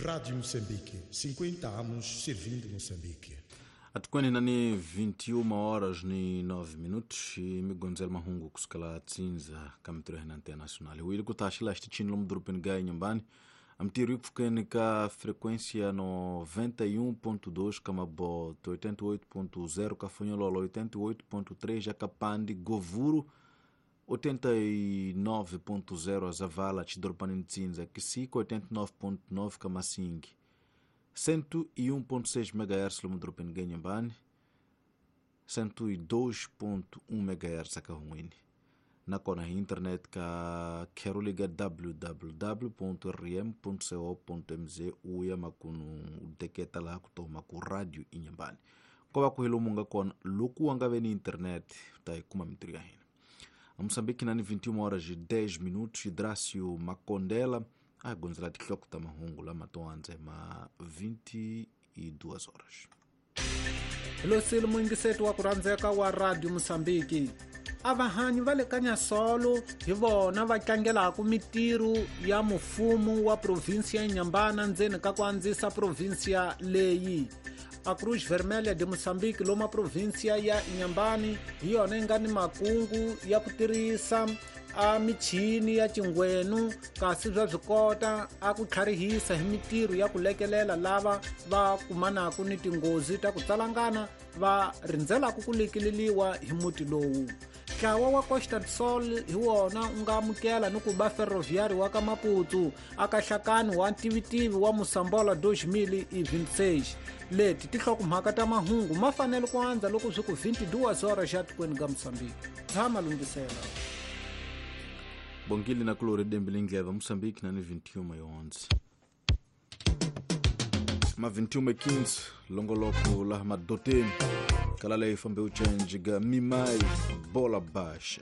Rádio Moçambique, 50 anos servindo Moçambique. Atikweni nani 21 horas ni 9 minutos e migonzel mahungu kusukela tsinza ka mitirho ya hina internacional wili ku taxila xitichini lomu dorobeni ga Inhambane a mitirho yi pfukeni ka frequência 91.2 ka Maboto, 88.0 ka Fonhololo, 88.3 ja ka Pande, Govuro 89.0 a Zavala, Tshidorobani Ntsinza, Kisiko 89.9 ka Massingue, 101.6 MHz lomu dorobeni ga Inhambane, 102.1 MHz a Kahungwini. Nakona hi internet ka kheroliga www.rm.co.mz u ya makunu u deketa laha ku toma ku Radio Inhambane. Ko va ku hi lomu nga kona loko wa nga ve ni internet u ta yi kuma mitirho ya hina. A Moçambique nani 21 horas e 10 minutos Drácio Makondela a gondzela tinhloko ta mahungu lama to andza hi ma 22 horas. Losile muyingiseti wa ku rhandzeka wa Radio Mosambiki, a vahanyi va le ka Nyasolo hi vona va tlangelaka mitirho ya mufumo wa provinsiya ya Inhambane ndzeni ka ku andzisa provinsiya leyi. A Cruz Vermelha de Moçambique loma provinsiya ya Inhambane hi yona yi nga ni makungu ya ku tirhisa a michini ya cingwenu, kasi bya swi kota a ku tlharihisa hi mitirho ya ku lekelela lava va kumanaka ni tinghozi ta ku tsalangana va rindzelaka ku lekeleliwa hi muti lowu. Ntlawa wa Costa do Sol hi wona u nga amukela ni ku ba Ferroviário wa ka Maputo aka hlakani wa ntivitivi wa Mosambola 2026. Leti tinhlokomhaka ta mahungu ma fanele ku andza loko swi ku 22 horas xa tikweni ka Mosambiki. Tshama lunghisela. Bongile na kulori dembe lindleva Moçambique nani 21 yonzi. Ma 21 15 longoloko laha madoteni kala leyi fambe u change ga mimai bola baixa.